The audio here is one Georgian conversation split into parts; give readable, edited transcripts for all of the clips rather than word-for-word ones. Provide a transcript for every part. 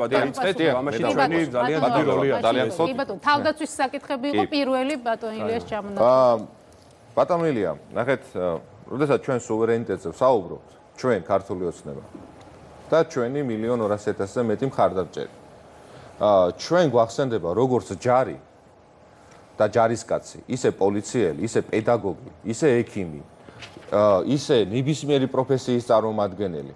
ამაში ჩვენი ძალიან დიდი როლია, ძალიან ხო. კი ბატონო, თავდაცვის საკითხები იყო პირველი ბატონ ილიას ჩამონადენი. ბატონ ილია, ნახეთ, როდესაც ჩვენ სუვერენიტეტზე ვსაუბრობთ, ჩვენ ქართული ოცნება და ჩვენი 1,200,000-ზე მეტი მხარდამჭერი. ჩვენ გვახსენდება როგორც ჯარი და ჯარისკაცი, ისე პოლიციელი, ისე პედაგოგი, ისე ექიმი, ისე ნებისმიერი პროფესიის წარმომადგენელი.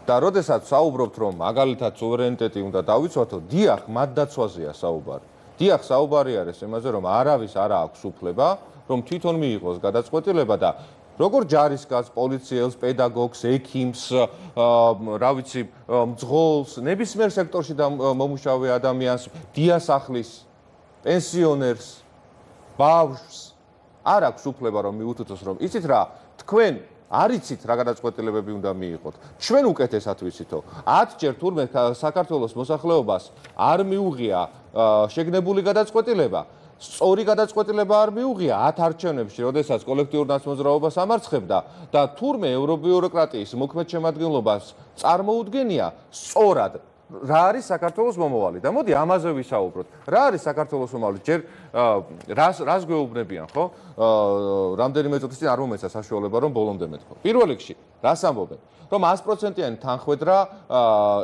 და როდესაც საუბრობთ, რომ მაგალითად სუვერენიტეტი უნდა დავიცვათო, დიახ, მათდაცვაზეა საუბარი. დიახ, საუბარი არის იმაზე, რომ არავის არ აქვს უფლება, რომ თვითონ მიიღოს გადაწყვეტილება და როგორ ჯარისკაცს, პოლიციელს, პედაგოგს, ექიმს, რა ვიცი, მძღოლს, ნებისმიერ სექტორში მომუშავე ადამიანს, დიასახლის, პენსიონერს, ბავშვს არ აქვს უფლება რომ მიუთითოს, რომ იცით რა, თქვენ არ იცით რა გადაწყვეტილებები უნდა მიიღოთ. ჩვენ უკეთესად ვიცითო. 10 ჯერ თურმე საქართველოს მოსახლეობას არ მიუღია შეგნებული გადაწყვეტილება. სწორი გადაწყვეტილება არ მიუღია 10 არჩევნებში, როდესაც კოლექტიურ ნაცმოძრაობას ამარცხებდა და თურმე ევრობიუროკრატიის მოქმედ შემადგენლობას წარმოუდგენია სწორად რა არის საქართველოს მომავალი და მოდი ამაზე ვისაუბროთ. რა არის საქართველოს მომავალი? ჯერ რას გვეუბნებიან, ხო? რამდენიმე წუთის წინ არ მომეცა საშუალება რომ ბოლომდე მეთქვა. პირველ რიგში, რას ამბობენ? რომ 100%-იანი თანხმედრა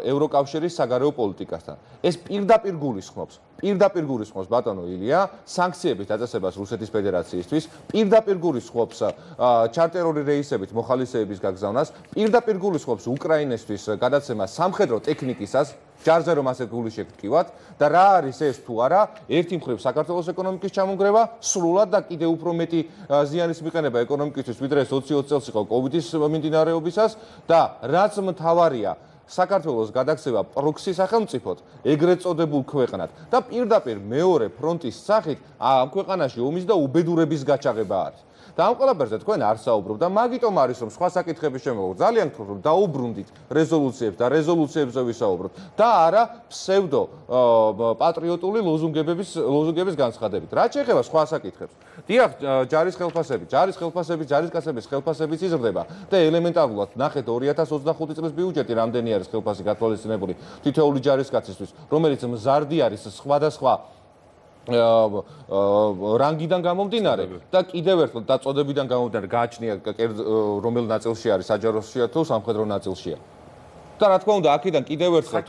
ევროკავშირის საგარეო პოლიტიკასთან. ეს პირდაპირ გულისხმობს ბატონო ილია სანქციების დაწესებას რუსეთის ფედერაციისთვის, პირდაპირ გულისხმობს ჩარტერული რეისებით მოხალისეების გაგზავნას, პირდაპირ გულისხმობს უკრაინისთვის გადაცემას სამხედრო ტექნიკისას, ჯარზე რომ ასე გული შეგტკივათ და რა არის ეს თუ არა, ერთი მხრივ საქართველოს ეკონომიკის ჩამონგრევა, სრულად და კიდევ უფრო მეტი ზიანის მიყენება ეკონომიკისთვის, ვიდრე 20 წელს იყო კოვიდის მიმდინარეობისას და რაც მთავარია საქართველოს გადაქცევა პროქსი სახელმწიფოდ, ეგრეთ წოდებულ ქვეყნად და პირდაპირ მეორე ფრონტის სახით ამ ქვეყანაში ომის და უბედურების გაჩაღება არის. და ამ ყველაფერზე თქვენ არ საუბრობთ და მაგიტომ არის რომ სხვა საკითხების შემოგვიყვანთ. ძალიან გთხოვთ რომ დაუბრუნდით რეზოლუციებს და რეზოლუციებზე ვისაუბროთ და არა ფსევდო პატრიოტული ლოზუნგების განცხადებით. რაც შეეხება სხვა საკითხებს. დიახ, ჯარისკაცების ხელფასებიც იზრდება და ელემენტარულად ნახეთ 2025 წლის ბიუჯეტი რამდენი არის ხელფასი გათვალისწინებული თითოეული ჯარისკაცისთვის, რომელიც მზარდი არის სხვადასხვა რანგიდან გამომდინარე და კიდევ ერთხელ დაწოდებიდან გამომდინარე გააჩნია რომელ ნაწილში არის საჯაროსშია თუ სამხედრო ნაწილშია. და რა თქმა უნდა, აქედან კიდევ ერთხელ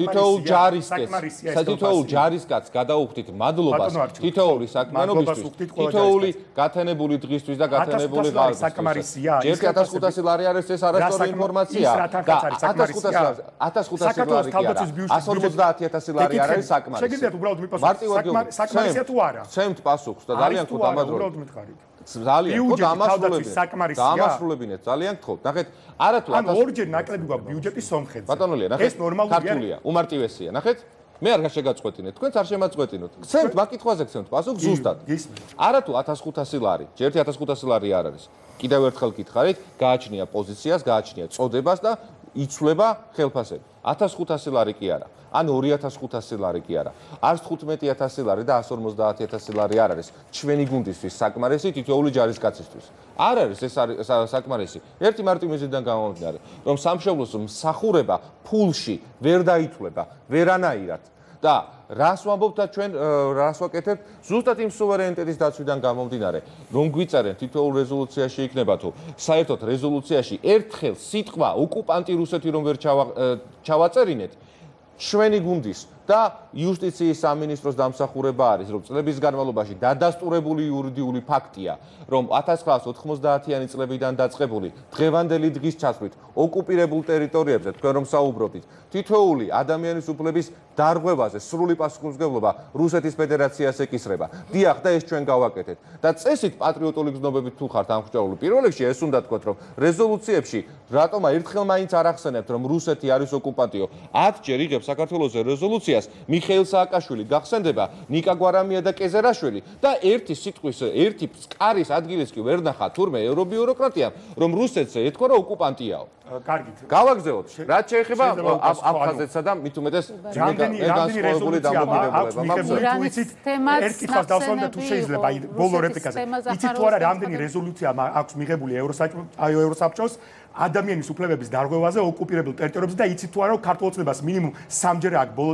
თითოეულ ჯარისკაცს გადაუხდით მადლობას თითოეული საქმიანობისთვის, თითოეული გათენებული დღისთვის და გათენებული ღარიბისთვის. ჯერ 1500 ლარი არის ეს არასწორი ინფორმაცია და 1500 ლარი კი არა, 150.000 ლარი არის საკმარისი. შეგიძლიათ უბრალოდ მიპასუხოთ, საკმარისია თუ არა? ცემთ პასუხს და ძალიან გთხოვთ ამაძროთ. ძალიან ხო დამასრულებინეთ, ძალიან გთხოვთ. ნახეთ, არათუ ანუ ორჯერ ნაკლები გვაქვს ბიუჯეტის სომხეთზე. ბატონო ლია, ნახეთ, ქართულია, უმარტივესია. ნახეთ, მე არ გაშეგაწყვეტინეთ, თქვენც არ შემაწყვეტინოთ. გცემთ მაკითხვაზე გცემთ პასუხს ზუსტად. არათუ 1500 ლარი, ჯერთი 1500 ლარი არ არის. კიდევ ერთხელ გითხარით, გააჩნია პოზიციას, გააჩნია წოდებას და იცვლება ხელფასები. 1500 ლარი კი არა. ან 2500 ლარი კი არა. არც 15000 ლარი და 150.000 ლარი არ არის ჩვენი გუნდისთვის საკმარისი თითოეული ჯარისკაცისთვის. არ არის ეს საკმარისი. ერთი მარტივი მიზნიდან გამომდინარე, რომ სამშობლოს მსახურება ფულში ვერ დაითვლება ვერანაირად და რას ვამბობთ და ჩვენ რას ვაკეთებთ ზუსტად იმ სუვერენიტეტის დაცვიდან გამომდინარე, რომ გვიწერენ თითოეულ რეზოლუციაში იქნება თუ საერთოდ რეზოლუციაში ერთხელ სიტყვა ოკუპანტი რუსეთი რომ ვერ ჩავაწერინეთ ჩვენი გუნდის და იუსტიციის სამინისტროს დამსახურება არის, რომ წლების განმავლობაში დადასტურებული იურიდიული ფაქტია, რომ 1990-იანი წლებიდან დაწყებული დღევანდელი დღის ჩათვლით ოკუპირებულ ტერიტორიებზე თქვენ რომ საუბრობთ, თითოეული ადამიანის უფლების დარღვევაზე სრული პასუხისმგებლობა რუსეთის ფედერაციას ეკისრება. დიახ, და ეს ჩვენ გავაკეთეთ. და წესით პატრიოტული გზნობებით თუ ხართ ამხჯაული, პირველ რიგში ეს უნდა თქვათ, რომ რეზოლუციებში რატომა ერთხელ მაინც არ ახსენებთ, რომ რუსეთი არის ოკუპანტიო. 10 ჯერ იღებს საქართველოს რეზოლუციას მიხეილ სააკაშვილი გახსენდება, ნიკა გვარამია და კეზერაშვილი და ერთი სიტყვის, ერთი სკარის ადგილიც კი ვერ ნახა თურმე ევრობიუროკრატიამ, რომ რუსეთს ეთქვა რომ ოკუპანტიაო. კარგით. გავაგზავნოთ. რაც შეეხება აფხაზეთსა და მით უმეტეს რამდენი რეზოლუცია აქვს ერთ კითხვას დავსვამ და თუ შეიძლება ბოლო რეპლიკაზე იცით თუ არა რამდენი რეზოლუცია აქვს მიღებული ევროსაბჭოს ადამიანის უფლებების დარღვევაზე ოკუპირებულ ტერიტორიებზე და იცით თუ არა რომ ქართულ ოცნებას მინიმუმ 3 ჯერ აქვს ბოლო